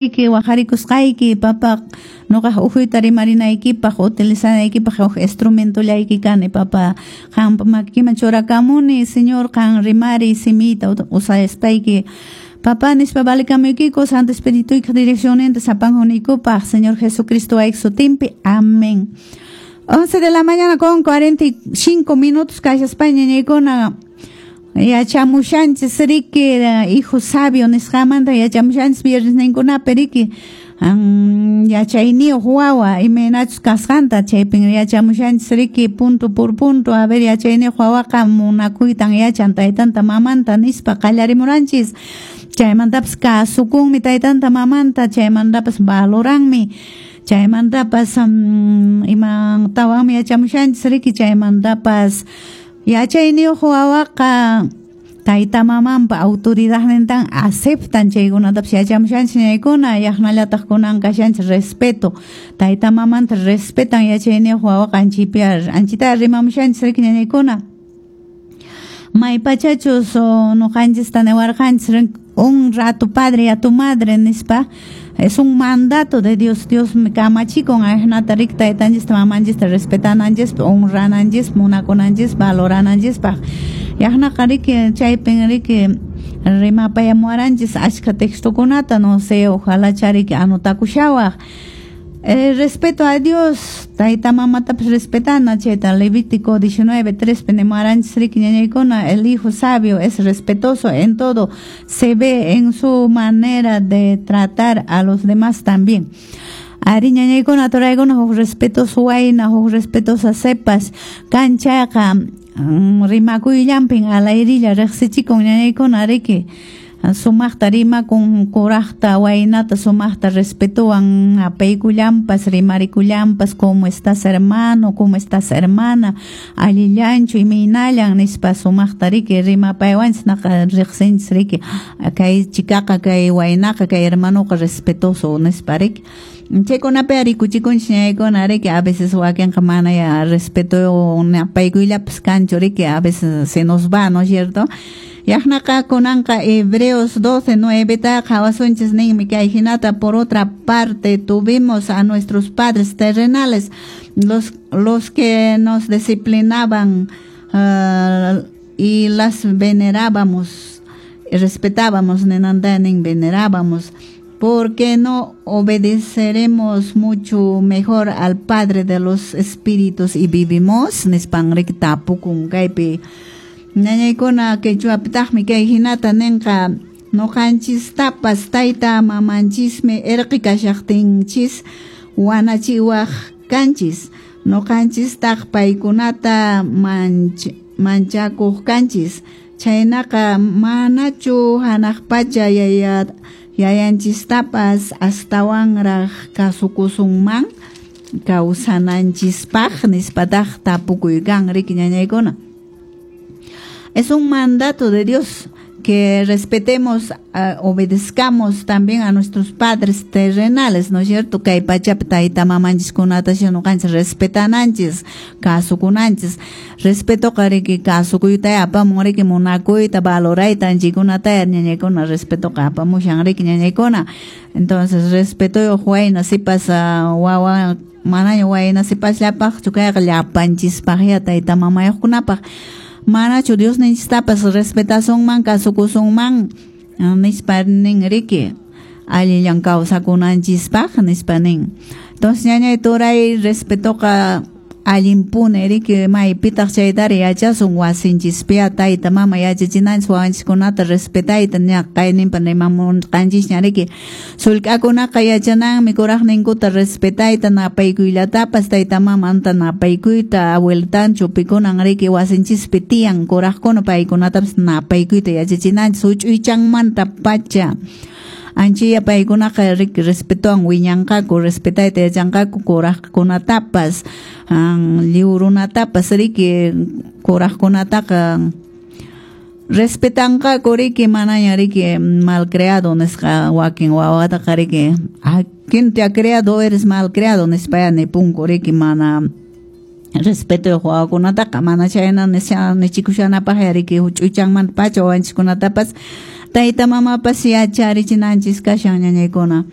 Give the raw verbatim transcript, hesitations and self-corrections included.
Waqarikusqayki papa, nuqaq ukhuyta rimarinaykipaq utilizanaykipaq huk instrumentollayki kani papa, qampa makikiman churakamuni Señor, qan rimariy simiyta usaspayki papa nispa valikamuykiku Santo Espirituykiq direccionninta sapanjunaykupaq Señor Jesucristo wayki sutinpi, amén. once de la mañana con cuarenta y cinco minutos kashaspa ñañaykuna yachamushanchis riki hijo sabio nisqamanta yachamushanchis viernes ninkunapi riki yachayniyuq wawa imaynachus kasqanta chaypin yachamushanchis riki punto por punto a ver yachayniyuq wawaqa munakuytan yachan taytanta mamanta nispa qallarimuranchis chaymantapas kasukunmi taytanta mamanta chaymantapas valoranmi chaymantapas imantawanmi yachamushanchis riki chaymantapas yachayniyuq wawaqa tayta mamanpa autoridadnintan aceptan chaykunatapas yachamushanchis ñaykuna yaqnallataq kunan kashanchis respeto tayta mamanta respetan yachayniyuq wawaqa anchipi anchita rimamushanchis riki ñañaykuna maypachachus nuqanchista niwarqanchis honra a tu padre y a tu madre nispa es un mandato de Dios. Dios me kamachikun ajnata riki taytanchista mamanchista respetananchispaq honrananchispaq munakunanchispaq valorananchispaq yaqnaqa riki chaypin riki rimapayamuwaranchis ashka textokunata no sé ojalá chariki anotakushawaq. El respeto a Dios, tayta mamatapas respetana, chayta Levítico diecinueve tres nimuwaranchis riki ñañaykuna, el hijo sabio es respetuoso en todo, se ve en su manera de tratar a los demás también. Ari ñañaykuna turaykuna huk respetuoso wayna, huk respetuosa sepas, kanchaqa rimakuyllampin alayrilla riqsichikun ñañaykuna riki. Sumaqta rimakun kuraqta waynata sumaqta respetuwan apaykullampas rimarikullampas cómo estás hermano, cómo estás hermana, allillanchu imaynallan nispa sumaqta riki rimapaywanchis naqa riqsinchis riki kay chikaqa kay waynaqa kay hermanoqa respetuoso nispa riki chaykunapi rikuchikunchis ñaykuna riki a veces wakinqa mana ya respeto napaykullapas kanchu riki a veces se nos va, ¿no es cierto? Yaqnaqa kunanqa Hebreos doce nueve qhawasunchis ninmi kay hinata por otra parte tuvimos a nuestros padres terrenales los, los que nos disciplinaban uh, y las venerábamos, respetábamos, ninantanin venerábamos, porque no obedeceremos mucho mejor al Padre de los espíritus y vivimos nispan riki tapukun kaypi ñañaykuna quechuapitaqmi kay hinata ninqa nuqanchistapas tayta mamanchismi irqi kashaqtinchis wanachiwaq kanchis nuqanchistaq paykunata manch manchakuq kanchis chaynaqa manachu hanaq pacha yaya yayanchistapas astawanraq kasukusunman kawsananchispaq nispataq tapukuykan riki ñañaykuna. Es un mandato de Dios que respetemos, uh, obedezcamos también a nuestros padres terrenales, ¿no es cierto? Kay pachapi tayta mamanchiskunata ñuqanchis respetananchis, kasukunanchis. Respeto riki kasukuyta apamun riki munakuyta, valorayta anchikunata ñañaykuna respetoqa apamushan riki ñañaykuna. Entonces, respeto wayna sipas uh, wawa manaña wayna sipasllapaqchu kayqa llapanchispaqya tayta mamayuqkunapaq. Manachu Dios ninchistapas respetasunman kasukusunman nispa nin riki allillan kawsakunanchispaq nispa nin. Entonces ñañay turay respetoqa allinpuni riki maypitaq chaytari yachasun wasinchispiya tayta mama yachachinanchis wawanchiskunata respetayta ña kayninpa rimamunqanchisña riki sullk'akunaqa yachananmi kuraqninkuta respetayta napaykuylatapas tayta mamanta napaykuyta abuelitanchu pikunan riki wasinchispi tiyan kuraqkuna paykunatapas napaykuyta yachachinanchis huch'uychanmanta pacha. Anchiya paykunaqa riki respetuwan wiñanqaku respetayta yachanqaku kuraqkunatapas lliw runatapas riki kuraqkunataqa respetanqaku riki manaña riki malcriado nisqa wakin wawataqa riki ¿quién te ha criado? Eres malcriado nispaya nipunku riki mana respeto wawakunataqa mana chayna nichikushanapaq riki huch'uychanmanta pacha wawanchiskunatapas Tayta mamapas yacharichinanchis kashan, ñañaykuna.